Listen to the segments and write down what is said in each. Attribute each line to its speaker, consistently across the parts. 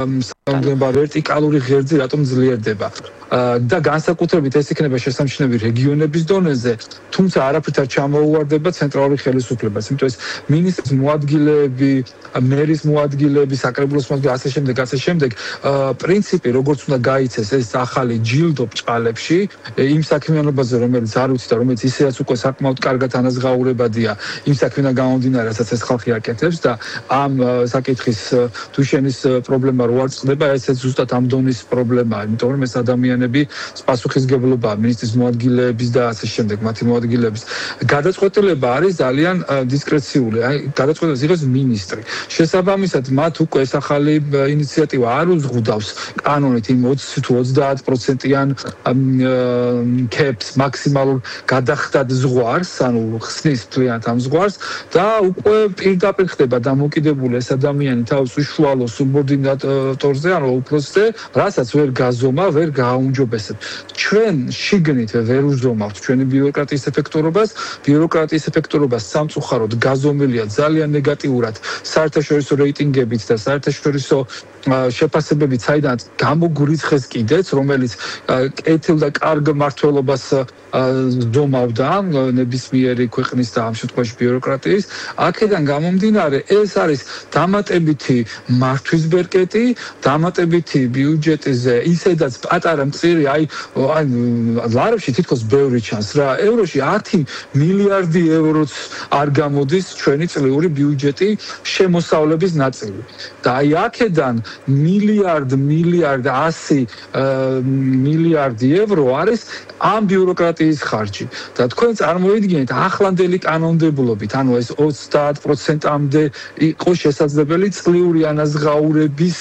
Speaker 1: სამგება ვერტიკალური ღერძი რატომ ძლიერდება და განსაკუთრებით ეს იქნება შესამჩნევი რეგიონების დონეზე, თუმცა არაფრით არ ჩამოუვარდება ცენტრალური ხელისუფლებას, იმიტომ ეს მინისტრის მოადგილეები, მერის მოადგილეები, საკრებულოს მოადგილეები, ასე შემდეგ, პრინციპი როგორც უნდა გაიცეს ეს ახალი ჯილდო ბჭყალებში, იმ საქმიანობაზე, რომელიც არ ვიცი და რომელიც ისედაც უკვე საკმაოდ კარგად ანაზღაურებადია, იმ საქმიდან გამომდინარე, რასაც ეს ხალხი აკეთებს და ამ საკითხის თუ შენის პრობლემა რო არ წყდება, ესეც ზუსტად ამ დონის პრობლემაა, იმიტომ რომ ეს ადამიანები პასუხისმგებლობაა მინისტრის მოადგილეების და ასე შემდეგ, მათი მოადგილეების. გადაწყვეტილება არის ძალიან დისკრეციული, აი გადაწყვეტილებას იღებს მინისტრი. შესაბამისად, მათ უკვე ეს ახალი ინიციატივა არ უზღუდავს კანონით იმ 20 თუ 30%-იან caps მაქსიმალურ გადახდად ზღვარს, ანუ ხსნის მთლიანად ამ ზღვარს და უკვე პირდაპირ ხდება დამოკიდებული ეს ადამიანი თავის უშუალო სუბორდინატორზე, ანუ უფროსზე, რასაც ვერ გაზომა, ვერ გააუმჯობესებ. ჩვენ შიგნით ვერ უზომავთ ჩვენი ბიუროკრატიის ეფექტურობას, ბიუროკრატიის ეფექტურობას სამწუხაროდ გაზომილია ძალიან ნეგატიურად საერთაშორისო რეიტინგებით და საერთაშორისო შეფასებებით, საიდანაც გამოგვირიცხეს კიდეც, რომელიც კეთილ და კარგ მმართველობას ზომავდა ნებისმიერი ქვეყნის და ამ შემთხვევაში ბიუროკრატიის. აქედან გამომდინარე, ეს არის დამატებითი მართვის ბერკეტი, დამატებითი ბიუჯეტზე, ისედაც პატარა მწირი, აი ლარებში თითქოს ბევრი ჩანს რა. ევროში 10 მილიარდი ევროც არ გამოდის ჩვენი წლიური ბიუჯეტი შემოსავლების ნაწილი. და აი აქედან მილიარდ 100 მილიარდი евро არის ამ ბიუროკრატიის ხარჯი. და თქვენ წარმოიდგინეთ ახლანდელი კანონმდებლობით, ანუ ეს 30%-მდე იყო შესაძლებელი წლიური ანაზღაურების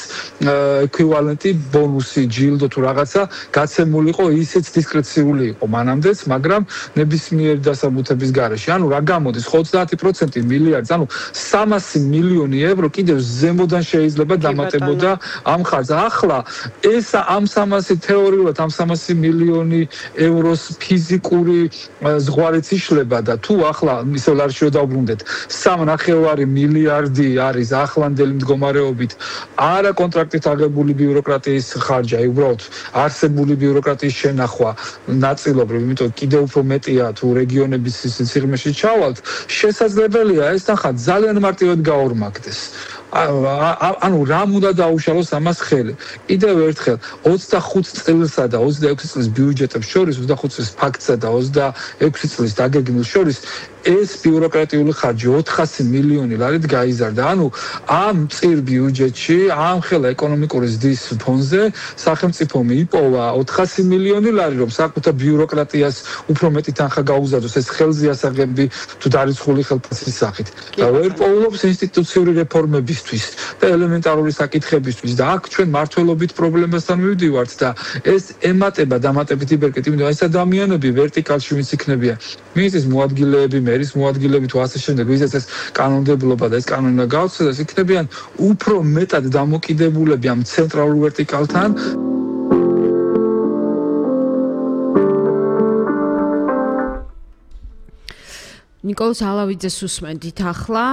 Speaker 1: ეკვივალენტი ბონუსი, ჯილდო თუ რაღაცა გაცემულიყო, ისიც დისკრეციული იყო მანამდეც, მაგრამ ნებისმიერი დასაბუთების გარეშე. ანუ რა გამოდის 30% მილიარდს, ანუ 300 მილიონი евро კიდევ ზემოდან შეიძლება დამატებოდა ამ ხარჯს. ახლა ეს ამ 300 თეორიულად ამ 300 მილიონი ევროს ფიზიკური ზღვარიც იშლება და თუ ახლა ისე ლარში რო დავბრუნდეთ 3.5 მილიარდი არის ახლანდელი მდგომარეობით არა კონტრაქტით აღებული ბიუროკრატიის ხარჯი, აი უბრალოდ არსებული ბიუროკრატიის შენახვა ნაწილობრივ, იმიტომ კიდევ უფრო მეტია თუ რეგიონების სიღრმეში ჩავალთ, შესაძლებელია ეს ნახა ძალიან მარტივად გაორმაგდეს. ანუ რამ უნდა დაუშალოს ამას ხელი. კიდევ ერთხელ 25 წელსა და 26 წლის ბიუჯეტებს შორის, 25 წლის ფაქტსა და 26 წლის დაგეგმილ შორის ეს ბიუროკრატიული ხარჯი 400 მილიონი ლარით გაიზარდა. ანუ ამ წირ ბიუჯეტში, ამ ხელა ეკონომიკური ზრდის ფონზე სახელმწიფომ იპოვა 400 მილიონი ლარი, რომ საკუთარ ბიუროკრატიას უფრო მეტი თანხა გაუზადოს ეს ხელზე ასაღები თუ დარიცხული ხელფასის სახით. და ვერ პოულობს ინსტიტუციური რეფორმებისთვის და ელემენტარული საკითხებისთვის და აქ ჩვენ მართლობით პრობლემასთან მივდივართ და ეს ემატება დამატებითი ბერკეტი, იმიტომ ეს ადამიანები ვერტიკალში ვინც იქნებიან, მინისტრის მოადგილეები, მერის მოადგილეები თუ ასე შემდეგ, ვისაც ეს კანონმდებლობა და ეს კანონი უნდა გაუწევდეს, იქნებიან უფრო მეტად დამოკიდებულები ამ ცენტრალურ ვერტიკალთან.
Speaker 2: ნიკოლოზ ალავიძეს უსმენთ ახლა,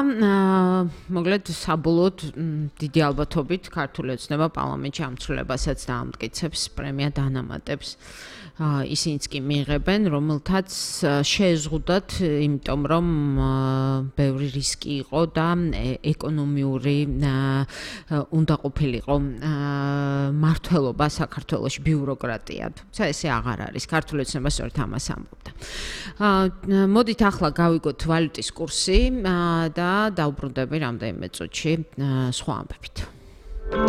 Speaker 2: მოკლედ საბოლოოდ დიდი ალბათობით ქართული ოცნება პარლამენტში ამ ცვლილებასაც დაამტკიცებს, პრემია დანამატებს. ისინიც კი მიიღებენ, რომელთაც შეეზღუდათ, იმიტომ რომ ბევრი რისკი იყო და ეკონომიური უნდა ყოფილიყო მართლობა საქართველოში ბიუროკრატია. თუმცა ესე აღარ არის. ქართული ოცნება სწორედ ამას ამბობდა. მოდით ახლა გავიგოთ ვალუტის კურსი და დავუბრუნდები რამდენიმე წუთში სხვა ამბებით.